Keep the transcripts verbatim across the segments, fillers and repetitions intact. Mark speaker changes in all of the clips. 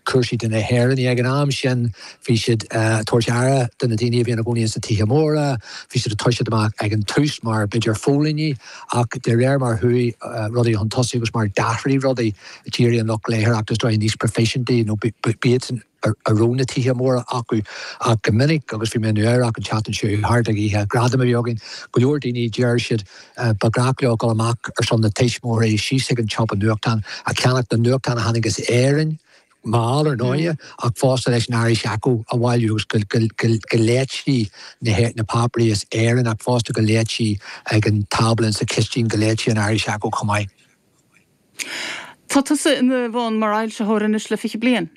Speaker 1: Cúrsaí do na hÉireannaigh ag an am sin, bhí siad ag tabhairt aire do na daoine a bhí ina gcónaí sna tithe móra, bhí siad ag toiseacht amach ag an tús mar b'fhéidir phóilíní, ach de réir mar chuaigh rudaí chun tosaigh agus mar d'athraigh rudaí, d'éirigh an lucht léitheoireachta is dóigh níos proifisiúnta nó b'iadsan a raibh na tithe móra acu. Ach go minic, agus bhí mé i Nua Eabhrac an tseachtain seo thart ag oíche gradam a bhí againn, go leor daoine, deir siad, ba ghnách leo dul amach ar son na tuismitheoirí síos ag an tsiopa nuachtán, ag ceannach na nuachtán a tháinig as Éirinn, mall ar ndóighe, ach fosta leis an Irish Echo a bhailiú agus go léití na páipéirí as Éirinn ach fosta go léití ag an tábla sa chistin go léití an Irish Echo chomh maith.
Speaker 2: Tá tusa ina bhun mar fhoilsitheoir anois le fiche bliain.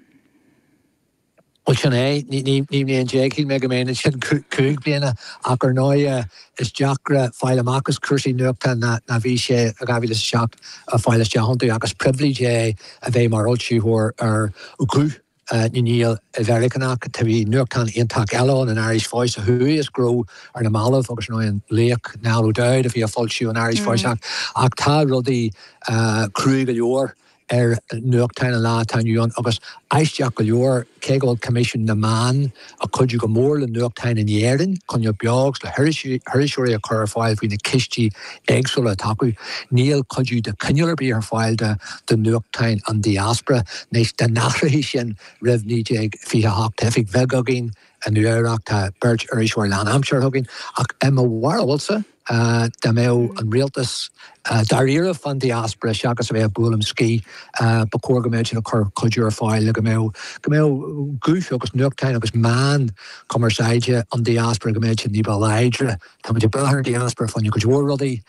Speaker 1: Bhuel sin é, ní bliain déag, shíl mé go mbeinn ansin cúig bliana ach ar ndóighe is deacra fáil amach as cúrsaí nuachta ná ná bhí sé i dhá mhíle is a seacht a fáil isteach iontu ach is pribhléid é a bheith mar fhoilsitheoir ar Ghuth na nGael i Mheiriceánach. Tá bhí nuachtán iontach eile ann, an Irish Voice, a chuaigh as gnó ar na mallaibh agus ar ndóigh an laoch Niall O'Dowd a bhí ag foilsiú an Irish Voice ach ach tá rudaí cruaidh go leor ar nuachtáin an lá atá inniu ann agus aisteach go leor, cé go bhfuil Coimisiún na Meán ag cuidiú go mór le nuachtáin in Éirinn coinneáil beo agus le hiriseoirí a chur ar fáil faoi na cistí éagsúla atá acu, níl cuidiú de chineál ar bith ar fáil do nuachtáin an diaspora. Anois, dá n-athrófaí sin roimh naoi déag fiche a hocht, tá oifig bheag againn i Nua Eabhrac, tá beirt iriseoir lánaimseartha againn, ach i mo bharúilsa, dá mbeadh an rialtas dáiríre fán diaspora seachas a bheith ag bualadh scíth, ba chóir go mbeadh siad ag cur cuidiú ar fáil le go mbeadh go mbeadh guth agus nuachtáin agus meán cumarsáide an diaspora go mbeadh siad ní ba láidre. Tá muid ag brath ar an diaspora fá choinne cuid mhór rudaí,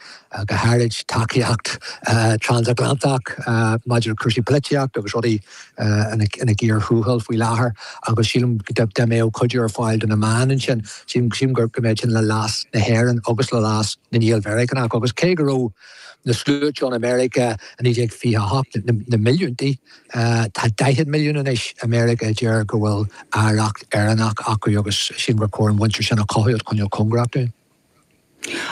Speaker 1: go háirid tacaíocht transatlantach maidir le cúrsaí polaitíochta agus rudaí ina gcíor thuathail faoi láthair agus sílim dá mbeadh cuidiú ar fáil do na meáin ansin, sílim go mbeadh sin le leas na hÉireann agus le leas na nGael-Mheiriceánach agus cé go raibh na sluaite ann i Meiriceá i naoi déag fiche a hocht, na milliúntaí, tá daichead milliún anois i Meiriceá a deir go bhfuil oidhreacht Éireannach acu agus sílim gur chóir an mhuintir sin a chothú agus coinneáil cóngarach dúinn.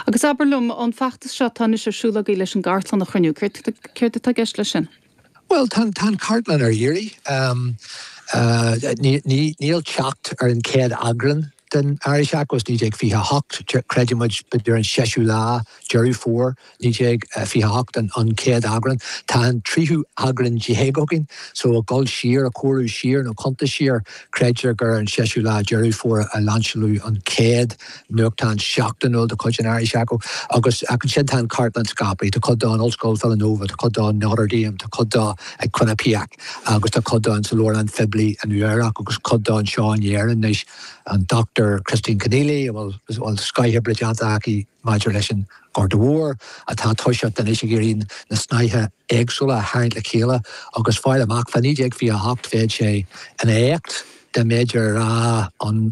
Speaker 2: Agus abair liom, an feachtas seo atá anois ar siúl agaibh leis an gcartlann a chruinniú, céard atá i gceist leis sin?
Speaker 1: Bhuel, tá an chartlann ar iarraidh. Níl teacht ar an chéad eagrán den Irish Echo as naoi déag fiche a hocht, creideann muid b'fhéidir an seisiú lá Deireadh Fómhair naoi déag fiche a hocht an chéad eagrán. Tá an tríú eagrán déag againn, so ag dul siar, ag comhaireamh siar nó cuntas siar, creidtear gur ar an seisiú lá Deireadh Fómhair a lainseáladh an chéad nuachtán seachtainiúil de chuid an Irish Echo. Agus ansin tá an chartlann scaipthe, tá cuid dó in Ollscoil Villanova, tá cuid dó in Notre Dame, tá cuid dó ag Quinnipiac agus tá cuid dó sa Leabharlann Phoiblí i Nua Eabhrac agus cuid dó anseo in Éirinn anois. An Dochtúir Christine Kinealy, a bhfuil scothoibre déanta aici maidir leis an Ghorta Mhór, atá toiseacht anois ag iarraidh na snáithe éagsúla a tharraingt le chéile agus fáil amach fá naoi déag fiche a hocht bheadh sé ina éacht dá mb'fhéidir a rá an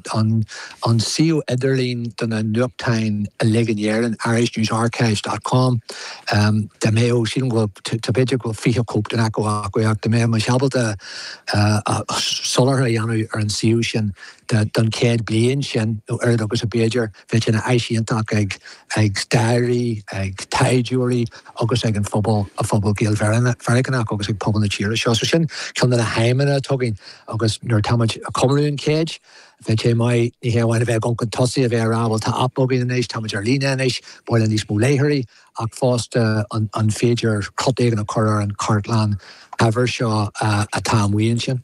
Speaker 1: an suíomh idirlín do na nuachtáin uilig in Éirinn, Irish News Archives dot com, dá mbeadh, sílim go bhfuil, tá b'fhéidir go bhfuil fiche cóip den Echo acu ach dá mbeadh muid ábalta soláthar a dhéanamh ar an suíomh sin don chéad bliain sin, nó oiread agus a b'fhéidir, bheadh sé ina áis iontach ag ag staraithe, ag taighdeoirí agus ag an phobal, an phobal Gael-Mheiriceánach agus ag pobal na tíre seo. So sin ceann de na haidhmeanna atá againn agus nuair atá muid ag comóradh an chéid, bheadh sé maith ní hé amháin a bheith ag dul chun tosaigh, a bheith ag rá bhuel tá aip againn anois, tá muid ar líne anois, ba mhaith linn níos mó léitheoirí, ach fosta an an féidir crot éigin a chur ar an chartlann shaibhir seo atá amuigh ansin.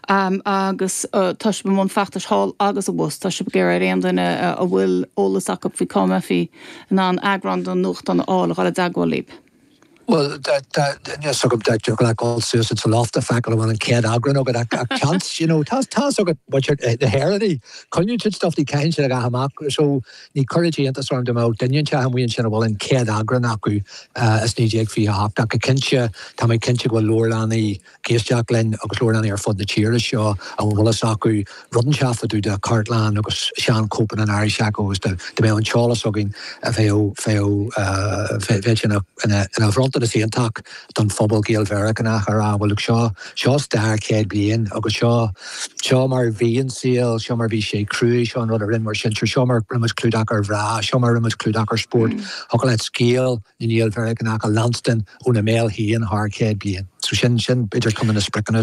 Speaker 2: Agus tá sibh i mbun feachtais thall agus abhus. Tá sibh ag iarraidh ar aon duine a bhfuil eolas acu faoi cá mbeifí in ann eagrán den nuachtán a fháil a dhul i dteagmháil libh.
Speaker 1: Bhuel, níl a fhios agam dá dtiocfadh leat dul suas sa loft a feiceáil an bhfuil an chéad eagrán agat ach seans, you know, tá fhios agat muintir na hÉireann, coinníonn siad stuff, ní caitheann siad a dhath amach so ní chuirfeadh sé iontas orm dá mbeadh duine inteacht amuigh ansin a bhfuil an chéad eagrán acu as naoi déag fiche a hocht ach go cinnte, tá mé cinnte go bhfuil leabharlannaí ag éisteacht linn agus leabharlannaí ar fud na tíre seo a bhfuil fhios acu rud inteacht fá dtaobh de chartlann agus seanchóipeanna an Irish Echo agus dá mbeadh an t-eolas againn bheadh bheadh bheadh sé ina ina bhronntanas iontach don phobal Gael-Mheiriceánach a rá bhuel look seo seo stair céad bliain agus seo seo mar a bhí an saol, seo mar a bhí sé cruaidh, seo an rud a rinne ár sinsir, seo mar a rinne muid clúdach ar mhná, seo mar a rinne muid clúdach ar spórt. Thiocfadh leat scéal na nGael-Mheiriceánach a leanstan óna mbéal féin thar céad bliain. So sin sin b'fhéidir ceann de na spriocanna.